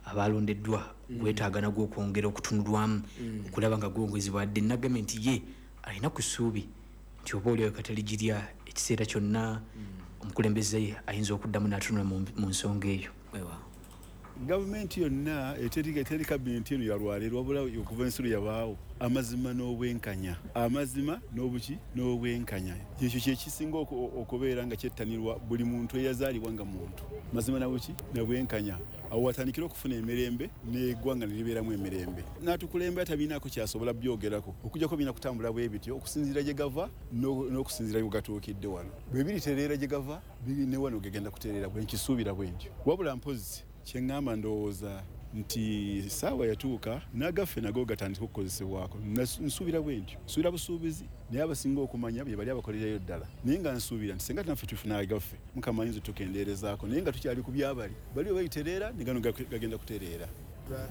abalondeddwa gwetaaga nagwo okwongera okutunulwamu okulaba nga gwongezebwa. Dde nagambye nti ye alina ku ssuubi nti oba oliawo kataligirya ekiseera kyonna omukulembeze ayinza okuddamu n'atunula mu nsonga eyo. Gavumenti yonna eteri eteri kabineti eno yalwaleero, wabula okuva ensulo yabaawo amazima n'obwenkanya, amazima n'obuki n'obwenkanya. Ekyo kye kisinga okubeera nga kyettanirwa buli muntu eyazaalibwa nga muntu, mazima nabuki nabwenkanya. Awo watandikira okufuna emirembe n'eggwanga ne libeeramu emirembe. N'atukulembera tabinaako kyasobola byogerako okujjako birina kutambula bwe bityo okusinziira gye gava n'okusinziira gye gatuukidde wano. Bwe biritereera gye gava ne wano gegenda kutereera, bwe nkisuubira bwe ntyo. Wabula mpozzi kye ŋŋamba ndowooza nti saawa yatuuka n'agaffe nago gatandika okukozesebwako. Nsuubira bwe ntyo, nsuubira busuubizi, naye abasinga okumanya bye bali abakolerayo ddala. Naye nga nsuubira nti singa naffe tufuna agaffe Mukama ayinza otukendeerezaako, naye nga tukyali ku byabali bali we bayitereera ne gano gagenda kutereera.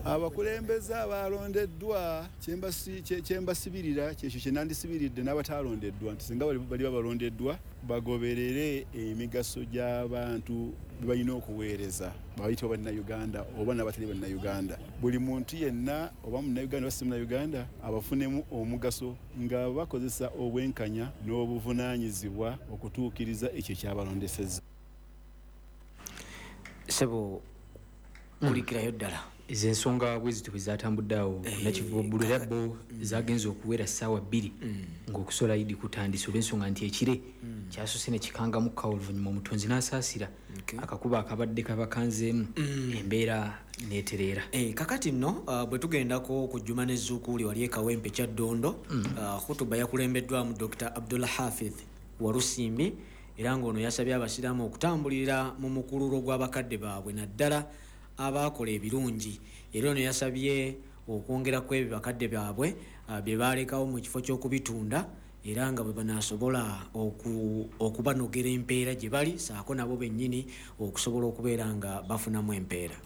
Abakulembeze abalondeddwa kye mbasibirira kyekyo kye nandisibiridde n'abataalondeddwa nti singa bali babalondeddwa bagoberere emigaso gy'abantu be balina okuweereza, bayitibwa bannayuganda oba n'abatali bannayuganda. Buli muntu yenna oba munnayuganda oba si munnayuganda abafunemu omugaso nga bakozesa obwenkanya n'obuvunaanyizibwa okutuukiriza ekyo ekyabalondesezza. Ssebo kulikirayo ddala ezo ensonga bwe zityo bwe zatambudde awo Nakivubo era bo zagenze okuwera ssaawa bbiri ng'okusola Idi kutandise olw'ensonga nti ekire kyasoose ne kikangamuka oluvannyuma omutonzi n'asaasira akakuba akabadde kabakanzeemu embeera n'etereera. Kakati nno bwe tugendako ku Juma ne Zukuuli wali e Kawempe Kyaddondo, khutuba yakulembeddwamu Dokita Abdullah Hafidh Walusimbi, era ng'ono yasabye abasiraamu okutambulira mu mukululo gw'abakadde baabwe naddala abakola ebirungi. Era ono yasabye okwongera ku ebyo bakadde baabwe bye baalekawo mu kifo ky'okubitunda, era nga bwe banaasobola okubanogera empeera gye bali saako nabo bennyini okusobola okubeera nga bafunamu empeera.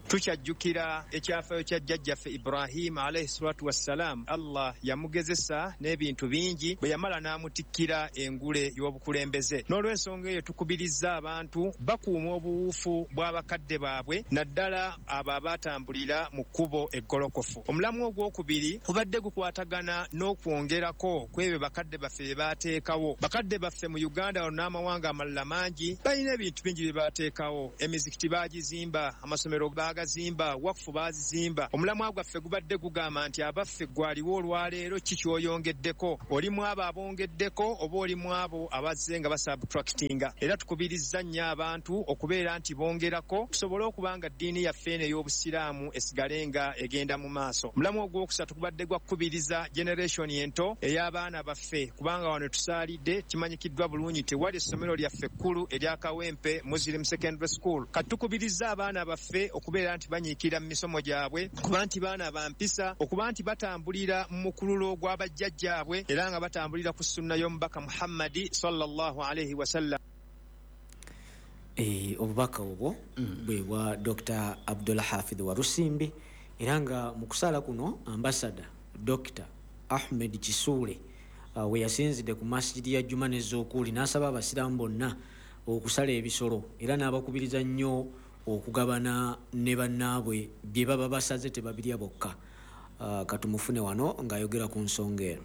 Tukyajjukira ekyafaayo kya jjajjaffe Ibrahim alayhi salatu wassalam. Allah yamugezesa n'ebintu bingi bwe yamala n'amutikkira engule y'obukulembeze. N'olw'ensonga eyo tukubiriza abantu bakuuma obuwuufu bw'abakadde baabwe naddala abo abaatambulira mu kkubo eggolokofu. Omulamu ogwokubiri gubadde gukwatagana n'okwongerako ku ebyo bakadde baffe bye baateekawo. Bakadde baffe mu Uganda wano n'amawanga amalala mangi balina ebintu bingi bye baateekawo. Emizikiti baagizimba, amasomero baagazimba, wakufu baazizimba. Omulamwa gwaffe gubadde gugamba nti abaffe gwaliwo olwaleero ki ky'oyongeddeko, oli mu abo abongeddeko oba oli mu abo abazze nga basubtractinga. Era tukubirizza nnyo abantu okubeera nti bongerako tusobole okuba nga ddiini yaffe eno ey'obusiraamu esigale nga egenda mu maaso. Omulamwa ogwokusatu gubadde gwa kukubiriza generation ento ey'abaana baffe, kubanga wano tusaalidde kimanyikiddwa bulungi tewali essomero lyaffe ekkulu erya Kawempe Muslim Secondary School. Kati tukubiriza abaana baffe okubeera nti banyiikira mu misomo gyabwe, okuba nti baana ba mpisa, okuba nti batambulira mu mukululo gw'abajjajjaabwe, era nga batambulira ku sunna y'omubaka Muhammadi sallallahu alaihi wasallam. Eh, obubaka obwo bwe bwa Dokita Abdullah Hafidh Walusimbi, era nga mu kusaala kuno ambasada Dokita Ahmed Kisuule uh, we yasinzidde ku masjidi ya Juma ne Zukuuli n'asaba abasiraamu bonna okusala ebisolo, era n'abakubiriza nnyo okugabana ne bannaabwe bye baba basaze tebabirya bokka. Uh, katumufune wano ng'ayogera ku nsonga eno.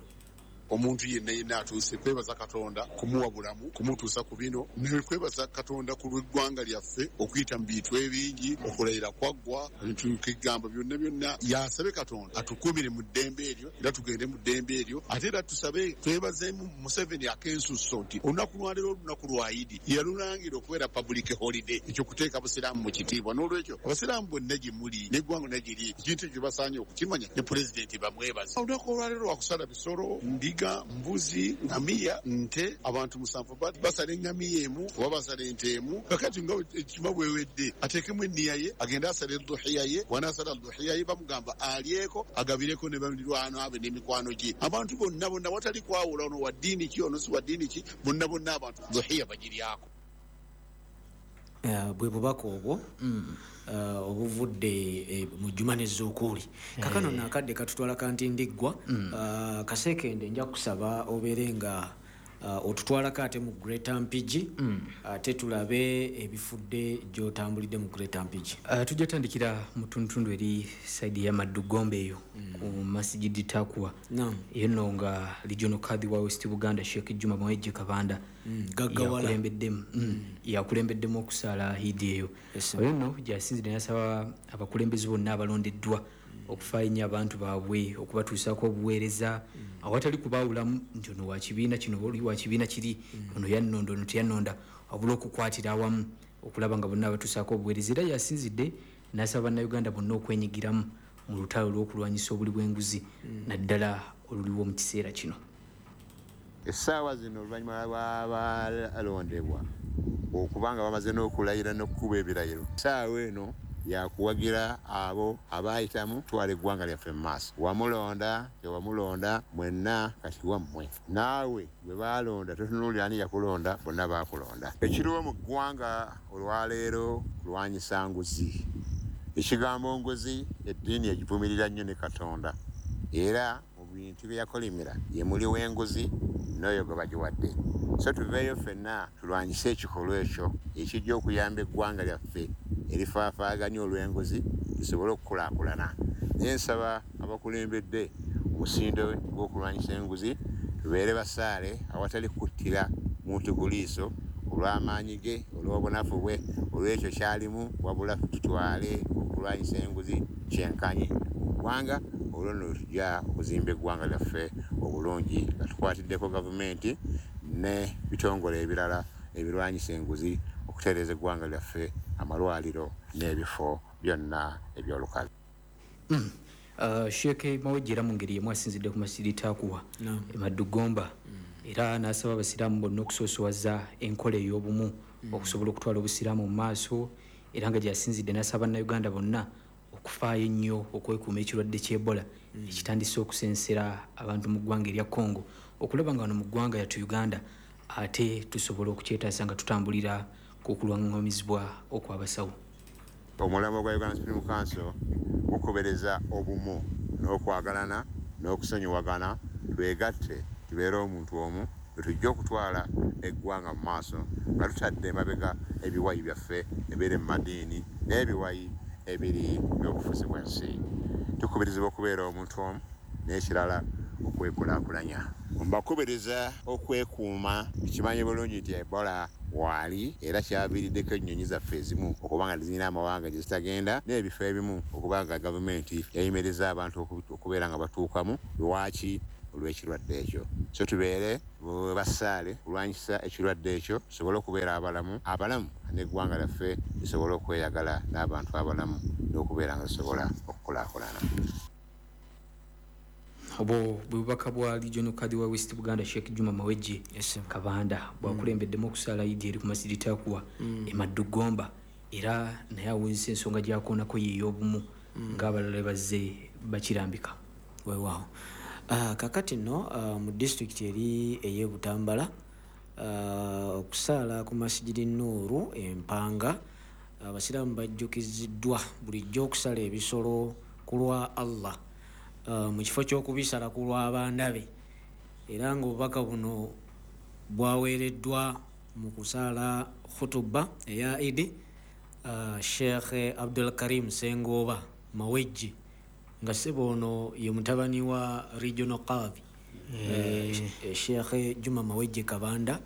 Omuntu yenna yenna atuuse kwebaza Katonda kumuwa bulamu, kumutuusa ku bino, ne kwebaza Katonda ku lw'eggwanga lyaffe okuyita mu bintu ebingi, okulayira kwaggwa, ebintu kigamba byonna byonna. Yasabe Katonda atukuumire mu ddembe eryo era tugende mu ddembe eryo. Ate era tusabe twebazeemu Museveni ak'ensusso nti olunaku lwaleero olunaku lwa Idi yalulangira okubeera public holiday, ekyo kuteeka Busiraamu mu kitiibwa. N'olwekyo Abasiraamu bonna gye muli n'eggwanga lyonna gye liri, ekintu ekyo basaanye okukimanya ne pulezidenti bamwebaze. Olunaku olwaleero lwakusala bisolo, ndiga, mbuzi, ngamiya, nte. Abantu musanvu basala engamiya emu oba basala ente emu. Kakati nga ekima bwewedde ateekemu enniya ye agende asala edduhiya ye. Wanaasala duhiya ye bamugamba alyeko agabireko ne balirwana abe n'emikwano gye. Abantu bonna bonna watali kwawula ono wa ddiini ki ono si wa ddiini ki, bonna bonna abantu duhiya bagiryako. Uh, bwe bubaka obwo mm. uh, obuvudde eh, mu Juma ne Zukuuli. Kakano nakadde katutwala kanti ndiggwa. mm. uh, kasekende nja kusaba obeere nga uh, otutwalako ate mu Greater Mpigi mm. ate tulabe ebifudde gy'otambulidde mu Greater Mpigi. Uh, tujja tandikira mu ttundutundu eri saidi ya Maddugombe eyo mm. ku Masjidi Takwa eyo nno nga Regional Kadhi wa West Buganda Sheikh Juma Mawejje Kabanda mm. yakulembeddemu mm. yakulembeddemu okusaala Eid eyo. Oyo nno gyasinzidde n'asaba abakulembeze bonna abalondeddwa okufaayo ennyo abantu baabwe okubatuusaako obuweereza mm. awatali kubaawulamu nti ono wa kibiina kino oli wa kibiina kiri mm. ono yannonda ono teyannonda, wabula okukwatira awamu okulaba nga bonna abatuusaako obuweereza. Era yasinzidde n'asaba bannayuganda bonna okwenyigiramu mu lutalo lw'okulwanyisa obuli bw'enguzi mm. naddala oluliwo mu kiseera kino. Essaawa zino oluvannyuma lw'abalondebwa okubanga bamaze n'okulayira n'okukuba ebirayiro, essaawa eno yakuwagira abo abayitamu twala eggwanga lyaffe mu maaso. Wamulonda tewamulonda mwenna kati wammwe, naawe bwe baalonda totunuulira ani yakulonda, bonna baakulonda. Ekiriwo mu ggwanga olwaleero kulwanyisa nguzi. Ekigambo nguzi eddiini egivumirira nnyo ne Katonda, era mu bintu bye yakolimira ye muli w'enguzi n'oyo gwe bagiwadde. So tuveeyo ffenna tulwanyise ekikolwa ekyo ekijja okuyamba eggwanga lyaffe erifaafaaganya olw'enguzi lisobole okukulaakulana. Naye nsaba abakulembedde omusindo gw'okulwanyisa enguzi tubeere basaale awatali kuttira muntu ku liiso olw'amaanyi ge, olw'obunafu bwe, olw'ekyo kyalimu, wabula tutwale okulwanyisa enguzi kyenkanyi mu ggwanga. Olwo nno tujja okuzimba eggwanga lyaffe obulungi nga tukwatiddeko gavumenti ne bitongole ebirala ebirwanyisa enguzi okutereeza eggwanga lyaffe, amalwaliro n'ebifo byonna eby'olukale. Mm. Uh, Sheikh Mawejje era mu ngeri emu asinzidde ku Masjidi Takwa no. e Maddugomba mm. era n'asaba abasiraamu bonna okusoosowaza enkola ey'obumu mm. okusobola okutwala obusiraamu mu maaso, era nga gyasinzidde n'asaba bannayuganda bonna okufaayo ennyo okwekuuma ekirwadde ky'Ebola mm. ekitandise okusensera abantu mu ggwanga erya Congo, okulaba nga wano mu ggwanga yattu Uganda ate tusobola okukyetaasa nga tutambulira ku kulwang'amizibwa okw'abasawo. Omulamwa gwa Uganda Supreme Council gukubereza obumu n'okwagalana n'okusonyiwagana, twegatte tubeere omuntu omu tujja okutwala eggwanga mu maaso nga tutadde emabega ebiwayi byaffe ebiri mu madiini n'ebiwayi ebiri by'obufuzi bw'ensi. Tukubirizibwa okubeera omuntu omu n'ekirala okwekulaakulanya. Mbakubiriza okwekuuma, kimanyi bulungi nti Ebola waali era kyaviiriddeko ennyonyi zaffe ezimu okuba nga zirina amawanga gye zitagenda n'ebifo ebimu okuba nga gavumenti yayimiriza abantu okubeera nga batuukamu. Lwaki? Olw'ekirwadde ekyo. So tubeere basaale kulwanyisa ekirwadde ekyo tusobole okubeera abalamu abalamu n'eggwanga lyaffe lisobole okweyagala n'abantu abalamu n'okubeera nga lisobola okukulaakulana. Obwo bwe bubaka bwa Regional Kadhi wa West Buganda Sheikh Juma Mawejje yes, Kabanda bwakulembeddemu okusaala Eid eri ku Masjidi Takwa mm. e Maddugomba, era naye awunzise ensonga gy'akoonako ye ey'obumu mm. ng'abalala bazze bakirambika. Weewaawo. Uh, kakati nno uh, mu disitulikiti eri ey'e Butambala uh, okusaala ku Masjidi Nuuru Empanga, abasiraamu uh, bajjukiziddwa bulijjo okusala ebisolo ku lwa Allah uh, mu kifo ky'okubisala ku lw'abaana be, era ng'obubaka buno bwaweereddwa mu kusaala khutuba eya Idi uh, Sheikh Abdul Karim Sengoba Mawejje, nga ssebo ono ye mutabani wa Regional Kadhi Eh. eh, Sheikh Juma Mawejje Kabanda,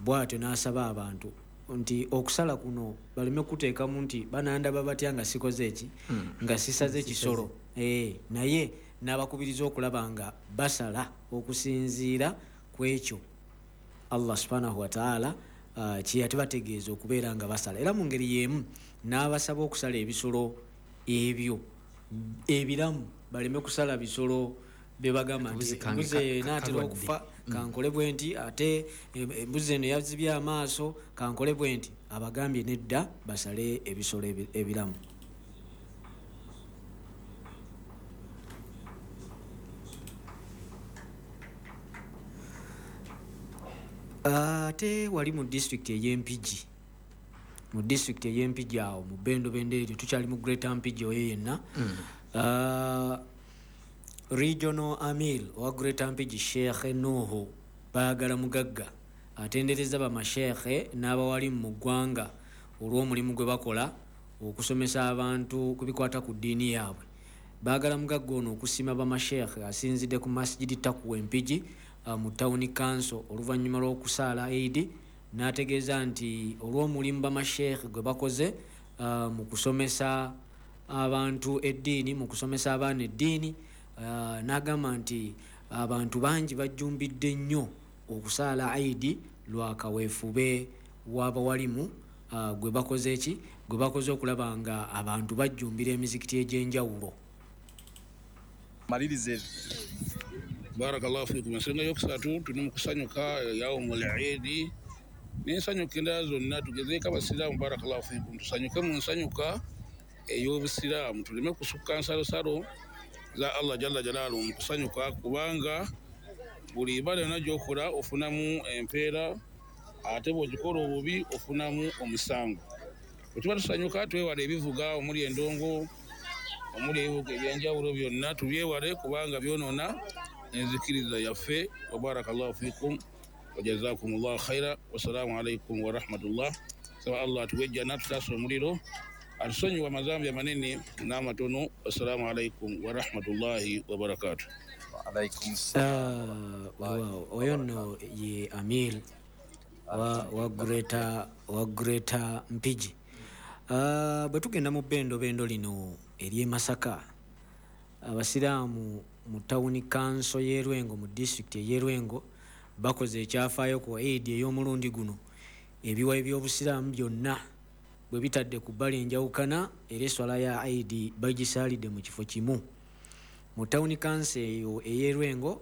bw'atyo n'asaba abantu nti okusala kuno baleme kuteekamu nti banandaba batya nga sikoze eki Mm. nga sisaze ekisolo, eh, naye n'abakubiriza okulaba nga basala okusinziira ku ekyo Allah subhanahu wa ta'ala uh, kye yatubategeeza okubeera nga basala. Era mu ngeri y'emu n'abasaba okusala ebisolo ebyo ebiramu, baleme kusala bisolo bye bagamba nti Embuzi kange embuzi ka- eyo ka- enaatera kalwadde. okufa kankole bwe nti, ate embuzi eno yazibye amaaso kankole bwe nti. Abagambye nedda, basale ebisolo ebi- ebiramu. Ate wali mu disitulikiti ey'Empigi, mu disitulikiti ey'Empigi awo mu bendobendo eryo tukyali mu Greater Mpigi oyo yenna Mm. uh, Regional Amir owa Greater Mpigi Sheikh Nuhu Baagala Mugagga atendereza bamasheekhe n'abawalimu mu ggwanga olw'omulimu gwe bakola okusomesa abantu ku bikwata ku ddiini yaabwe. Baagala Mugagga ono okusiima bamasheekhe asinzidde ku Masjidi Takuwa Empigi uh, mu Town Council oluvannyuma lw'okusaala Eid, n'ategeeza nti olw'omulimu bamasheekhe gwe bakoze uh, mu kusomesa abantu eddiini, mu kusomesa abaana eddiini, uh, n'agamba nti abantu bangi bajjumbidde nnyo okusaala Eid lwa kaweefube w'abawalimu uh, gwe bakoze ki gwe bakoze okulaba nga abantu bajjumbira emizikiti egy'enjawulo. Malirize. Barakallahu fikum. Ensonga yokusatu tuli mu kusanyuka yaumul Eid n'ensanyuka endala zonna, tugezeeko abasiraamu. Barakallahu fikum, tusanyuke mu nsanyuka ey'obusiraamu, tuleme kusukka nsalosalo za Allah jalla jalaaluhu mu kusanyuka, kubanga buli ibada yonna gy'okola ofunamu empeera, ate bw'ogikola obubi ofunamu omusango. Bwe tuba tusanyuka twewale ebivuga omuli endongo, omuli ebivuga ebyenjawulo byonna tubyewale, kubanga byonoona enzikiriza yaffe. Wa barakallahu fikum wa jazakumullahu khaira. Wassalamu alaikum warahmatullah. Saba Allah atuwe ejjana, tutaasa omuliro, atusonyiwe amazambi amanene n'amatono. Wassalamu alaikum warahmatullahi wabarakatuh. Alaikum salam. Uh, oyo nno ye Amir wa, wa Greater, wa Greater Mpigi. Uh, bwe tugenda mu bendobendo lino ery'e Masaka, abasiraamu mu Town Council y'e Lwengo mu disitulikiti ey'e Lwengo bakoze ekyafaayo ku Eid ey'omulundi guno. Ebiwayi by'obusiraamu byonna bwe bitadde ku bbali enjawukana, era eswala ya Eid bagisaalidde mu kifo kimu. Mu Town Council eyo ey'e Lwengo,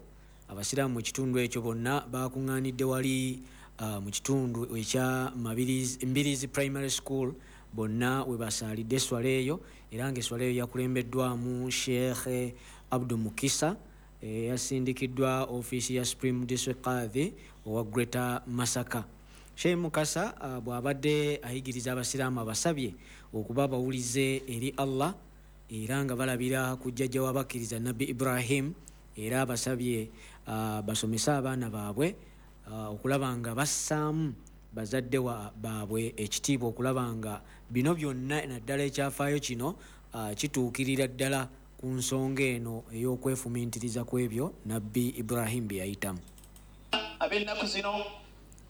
abasiraamu mu kitundu ekyo bonna bakuŋŋaanidde wali uh, mu kitundu ekya Mabirizi, Mbirizi Primary School, bonna we basaalidde eswala eyo, era ng'eswala eyo yakulembeddwamu Sheikh Abdu Mukisa, eyasindikiddwa ofiisi ya Supreme District Qadhi owa Greater Masaka. Sheikh Mukasa uh, bw'abadde ayigiriza abasiraamu abasabye okuba abawulize eri Allah, era nga balabira ku jjajja w'abakkiriza Nabbi Ibrahim, era abasabye uh, basomese abaana baabwe uh, okulaba nga bassaamu bazadde baabwe ekitiibwa, okulaba nga bino byonna naddala ekyafaayo kino uh, kituukirira ddala ku nsonga eno ey'okwefumintiriza ku ebyo Nabbi Ibrahim bye yayitamu. Ab'ennaku zino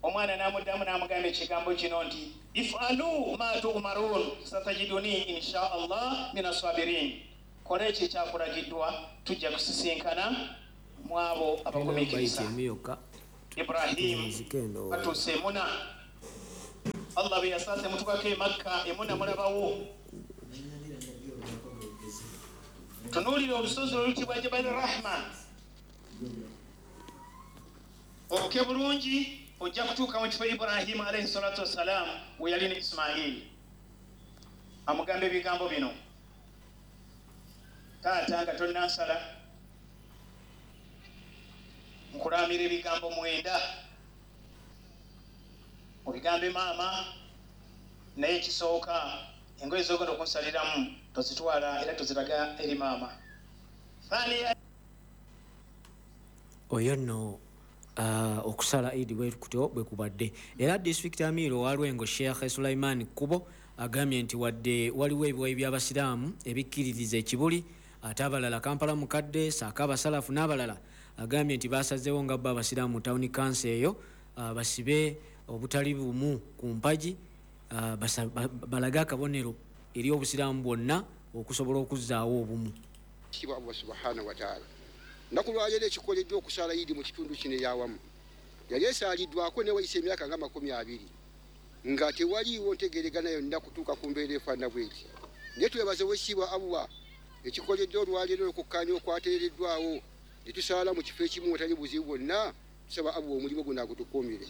omwana n'amuddamu n'amugamba ekigambo kino nti ifalu ma tu'marun satajiduni insha Allah mina sabirin, kola ekyo ekyakulagiddwa tujja kusisinkana mu abo abagumiikiriza. Ibrahim batuuse emuna, Allah bwe yasaase mutukako e Makka, emuna mulabawo, tunuulira olusozi oluyitibwa Jabal Rahma, obuke bulungi ojja kutuuka mu kifo Ibrahimu alayhi salatu wassalam we yali ne Ismaili. Amugamba ebigambo bino, taata nga tonnansala nkulamira ebigambo mwenda, obigambe maama, naye ekisooka engoye z'ogenda okunsaliramu tozitwala era toziraga eri maama. Oyo nno uh, okusala Eid bwe kutyo bwe kubadde. Era disitulikiti Amir owa Lwengo Sheikh Sulaiman Kubo agambye nti wadde waliwo ebiwayi by'abasiraamu ebikkiririza ekibuli, ate abalala Kampala Mukadde ssaako abasalafu n'abalala, agambye nti basazeewo nga bo abasiraamu mu Town Council eyo uh, basibe obutali bumu ku mpagi, uh, balage akabonero eri obusiraamu bwonna okusobola okuzzaawo obumu. Kitiibwa Allah subhanahu wa ta'ala. Nnaku lwaleero ekikoleddwa okusaala Eid mu kitundu kino eyawamu yali esaaliddwako ne wayise emyaka nga makumi abiri nga tewaliiwo ntegeeregana yonna kutuuka ku mbeera efaanana bw'eti. Naye twebaze owekitiibwa Allah ekikoleddwa olwaleero okukkaanya okwateereddwawo ne tusaala mu kifo ekimu watali buzibu bwonna. Tusaba Allah omulimu guno agutukuumire.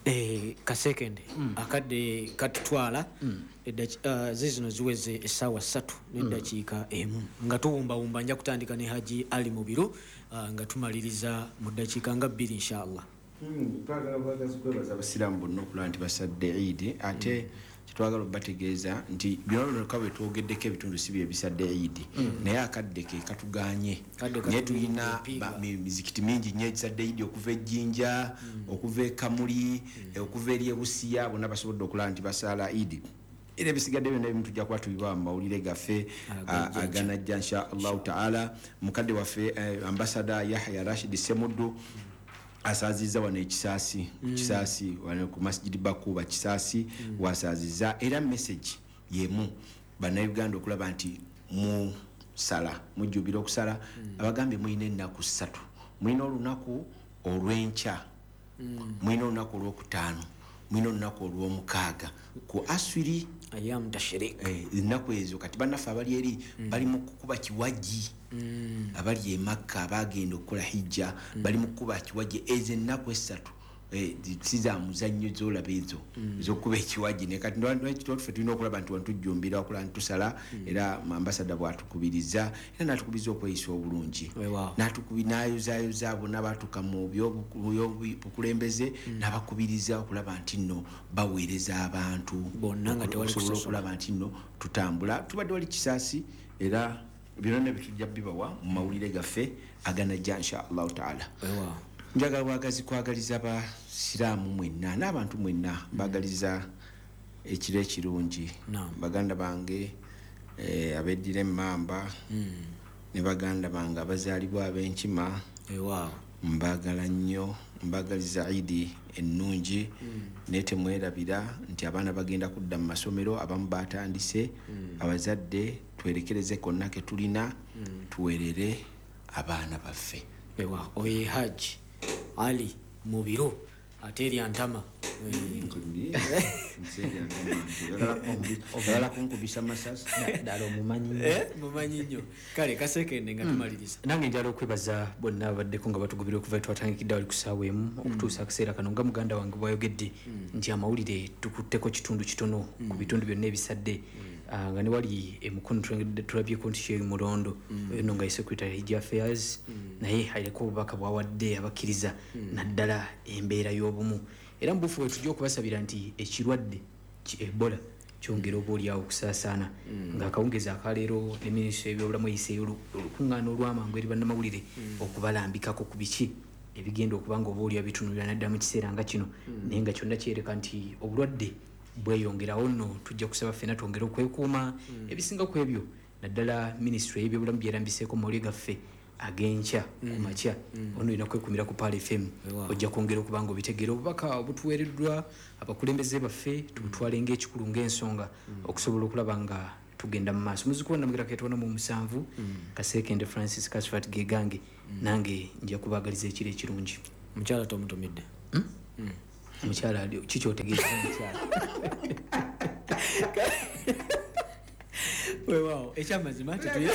Eh, kasekende mm. akadde katutwala mm. uh, zizino ziweze essaawa ssatu n'eddakiika mm. emu nga tuwumbawumba. Nja kutandika ne Haji Ali Mubiru uh, nga tumaliriza mu ddakiika nga bbiri inshallah. Twagala bwagazi kwebaza abasiraamu bonna okulaba nti basadde Eid, ate mm. Kyetwagala obategeeza nti byonna bwe twogeddeko ebitundu si bye bisadde Eid, naye akadde ke katuganye, naye tulina mizikiti mingi nnyo egisadde Eid okuva e Jjinja, okuva e Kamuli, okuva eri e Busia, bonna basobodde okulaba nti basaala Eid. Era ebisigadde byonna ebimu tujja kuba tubibawa mu mawulire gaffe aganajja insha Allahu taala. Mukadde waffe ambasada Yahya Rashid Semuddu asaazizza wano ekisaasi, kisaasi wano ku Masjid Bakuba kisaasi wasaazizza. Era message yemu bannayuganda okulaba nti musala, mujjubira okusala. Abagambye mulina ennaku ssatu, mulina olunaku olw'enkya, mulina olunaku olwokutaano, mulina olunaku olw'omukaaga ku aswiri ayam tashrik. Ennaku ezo kati bannaffe abali eri bali mu kukuba kiwagi, abali e Makka abagenda okukola hijja bali mu kukuba kiwagi. Ezo ennaku essatu si za muzannyo z'olaba ezo ez'okukuba ekiwagi, naye kati ffe tulina okulaba nti wano tujjumbira okulaba nti tusala. Era ambasada bw'atukubiriza era n'atukubiriza okweyisa obulungi, n'ayozaayoza bonna baatuuka mu byobukulembeze n'abakubiriza okulaba nti nno baweereza abantu bonna nga tewali okusobola okulaba nti nno tutambula. Tubadde wali kisaasi, era byonna bitujja bibawa mu mawulire gaffe aganajja insha Allahu taala. Njagala bwagazi kwagaliza basiraamu mwenna n'abantu mwenna, mbagaliza ekiro ekirungi. Baganda bange abeddira emmamba ne baganda bange abazaalibwa ab'enkima, mbagala nnyo, mbagaliza Eid ennungi. Naye temwerabira nti abaana bagenda kudda mu masomero, abamu batandise. Abazadde twerekereze konna ke tulina, tuweerere abaana baffe. Oye Haji Ali Mubiru ate erya ntama oyagala kunkubisa masasi ddala omumanyi mumanyi nnyo. Kale kasekende nga tumaliriza, nange njala okwebaza bonna abaddeko nga batugubira okuva twatandikidde wali ku ssaawa emu okutuusa akaseera kano. Nga muganda wange bw'ayogedde nti amawulire tukutteko kitundu kitono ku bitundu byonna ebisadde, nga ne wali emukono tulabyeko nti Sheikh Mulondo oyo nno nga ye Secretary Hijja Affairs, naye aliko obubaka bw'awadde abakkiriza naddala embeera y'obumu. Era mu bufu bwe tujja okubasabira nti ekirwadde ki Ebola kyongera oba oliawo okusaasaana, ng'akawungeezi akaleero ne minisitule y'ebyobulamu eyiseeyo olukuŋŋaana olw'amangu eri bannamawulire okubalambikako ku biki ebigenda okuba nga oba oliawo bitunuulira naddala mu kiseera nga kino, naye nga kyonna kyereka nti obulwadde bweyongerawo. Nno tujja kusaba ffenna twongere okwekuuma ebisinga ku ebyo, naddala minisitule y'ebyobulamu byerambiseeko mu mawulire gaffe ag'enkya ku makya. Ono olina kwekumira ku Pearl F M, ojja kwongera okuba nga obitegeera obubaka obutuweereddwa abakulembeze baffe, tubutwale ng'ekikulu ng'ensonga okusobola okulaba nga tugenda mu maaso. Muzzukulu Namugera Keetwana mu musanvu, Kasekende Francis Kasfat Gegange, nange nja kubaagaliza ekiro ekirungi. Mukyala tomutumidde? Mukyala kiki otegeeza mukyala? Weewaawo ekyamazima tetuye